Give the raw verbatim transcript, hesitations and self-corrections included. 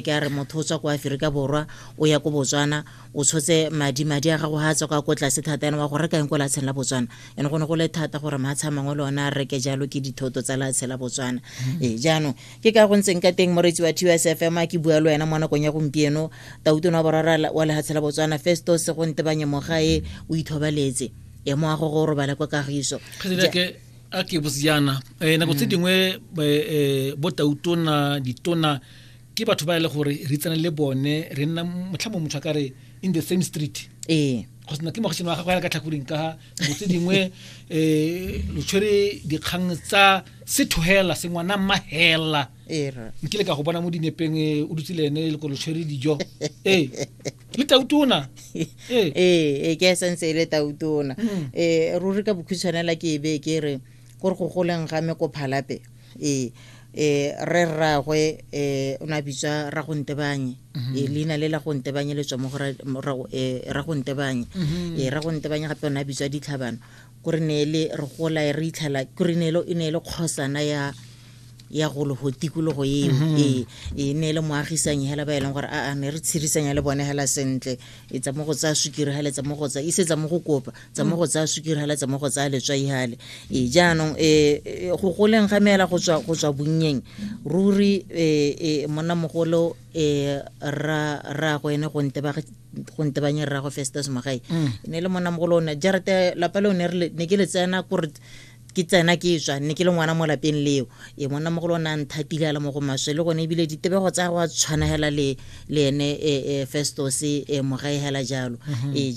Ke a re motho o tswa kwa Aforika Borwa o ya ko Botswana, o tshotse madi, madi a gago ga a tswa ka ko tlase thata, ene wa go reka eng ko lefatsheng la Botswana? Ene go ne go le thata gore mahatshe a mangwe le one a reke jalo ke dithoto tsa lehatshe la Botswana. Ee, jaanong ke ka go ntseng ka teng, moreetsi wa T S F M, a ke bua le wena mo nakong ya gompieno. Tautona wa boraro wa lehatshe la Botswana, Festus Gontebanye Mogae, o ithobaletse e moago go robala kwa kagiso. Ke a ke botse jaana, um nako tse dingwe um bo tautona, ditona ke batho ba e le gore re itsane le bone, re nna motlha mo motho a ka re in the same street. Ee. Go sena ke mogašane wa gagwe ya ka tlhakoring, ka nako tse dingwe um lo tshwere dikgang tsa setho hela, sengwana mahela. Ee rra. Nkile ka go bona mo dinepeng, eh, o dutse le ene le ko lo tshwere dijo, ee, le tautona, ee. Ee, ee, ke santse e le tautona. um ruri ka bokhutshwanela ke e be ke re gore go goleng ga me ko Phalape, ee, um re rraagwe um o ne a bitswa Ragontebanye. Ee, leina le la Gontebanye le tswa mo go Ra- mo Ra- eh, Ragontebanye. Ee, Ragontebanye gape o ne a bitswa Ditlhabano. Kore ne le re gola re itlhela kore ne e ne e le kgosana ya ya golo go tikologo eo. Ee, e ne e le moagisanyi hela ba e leng gore aa ne re tshirisanya le bone hela sentle. E tsa mo go tsaya sukiri hale, tsa mo go tsaya ise, tsa mo go kopa, tsa mo go tsaya sukiri hale, tsa mo go tsaya letswai hale. Ee, jaanong um go goleng ga meela go tswa go tswa bonnyeng ruri, um monnamogolo um ra rraagwe ene Gontebanye, rraagwe Festus Mogae, e ne e le monnamogolo. O ne jarata lapa leo ne re le- ne ke le tsena kore ke tsena ke tswa, ne ke le ngwana mo lapeng leo. E monnamogolo o ne a nthatile ala mo go maswe le gone, ebile ditebego tsa go a tshwana hela le le ene e, e, Festus e Mogae hela jalo. E.